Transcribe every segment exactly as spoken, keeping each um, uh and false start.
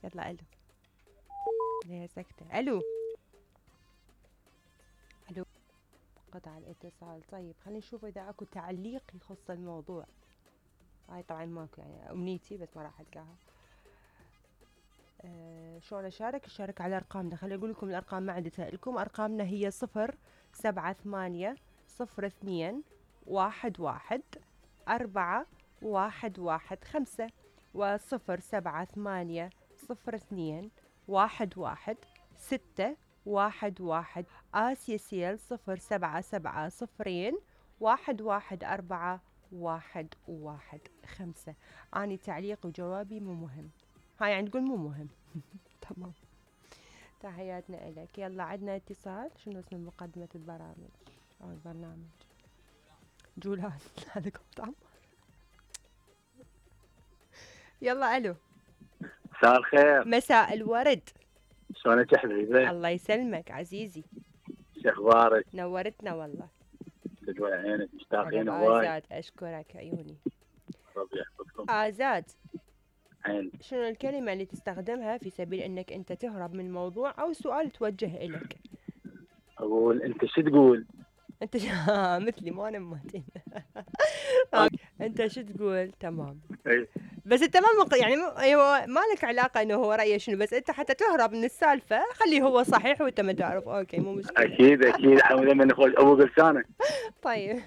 يلا الو. ليه سكتة؟ الو الو. قطع الاتصال. طيب خلينا نشوف اذا اكو تعليق يخص الموضوع. هاي طبعا ماكو يعني امنيتي بس ما راح القاها. أه شلون اشارك؟ اشارك على ارقامنا. خليني اقول لكم الارقام ما عندي لكم. ارقامنا هي صفر سبعة ثمانية صفر اثنين واحد واحد أربعة واحد واحد خمسة وصفر سبعة ثمانية صفر اثنين واحد واحد ستة واحد واحد. آسيا سيل صفر سبعة سبعة صفرين واحد واحد أربعة واحد واحد خمسة. أني تعليق وجوابي مو مهم. هاي يعني تقول مو مهم. تمام. تحياتنا إلك. يلا عندنا اتصال. شنو اسم مقدمة البرامج أو البرنامج؟ جولان. هذا كنت عمار. يلا الو. مساء الخير. مساء الورد. شلونك يا حبيبي؟ الله يسلمك عزيزي. شو اخبارك؟ نورتنا والله. تدوي عينك مشتاقين هواي. آزاد اشكرك عيوني. ربي يحفظكم. آزاد. عين. شنو الكلمة اللي تستخدمها في سبيل انك انت تهرب من موضوع او سؤال توجه الك؟ اقول انت شو تقول؟ انت ش... مثلي مو انا مهتم. انت شو تقول؟ تمام. اي بس انت ما مق... يعني ايوه ما لك علاقه انه هو رايه شنو، بس انت حتى تهرب من السالفه خليه هو صحيح وانت ما تعرف. اوكي مو مشكله. اكيد اكيد حمد من اخوي ابو قرشانه. طيب.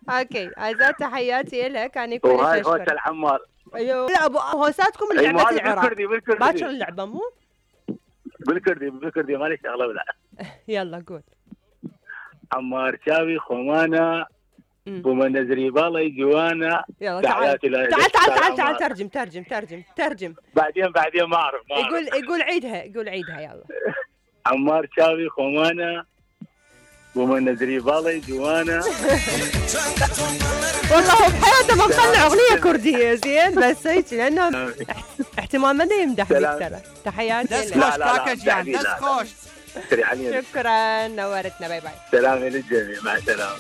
اوكي آزاد تحياتي لك. انا كلش وهاي اشكرك. هوسه الحمار. ايوه لا ابو هوساتكم اللي لعبه العراق. بالكردي بالكردي باكر اللعبه مو؟ بالكردي بالكردي مالي شغله ولا. يلا قول. عمار شاوي خمانه ومن نزري بالي جوانا. يلا تعال تعال تعال تعال تعال ترجم ترجم ترجم ترجم. بعدين بعدين ما اعرف ما يقول يقول عيدها يقول عيدها يلا. عمار شاوي خمانه ومن نزري بالي جوانا. والله هو بحياته ما مطلع اغنيه كرديه زين بس هيك لانه احتمال ما يمدح فيك ترى. تحياتي دس خوش باكج يعني دس خوش. شكرا نورتنا. باي باي. سلام للجميع مع السلامه.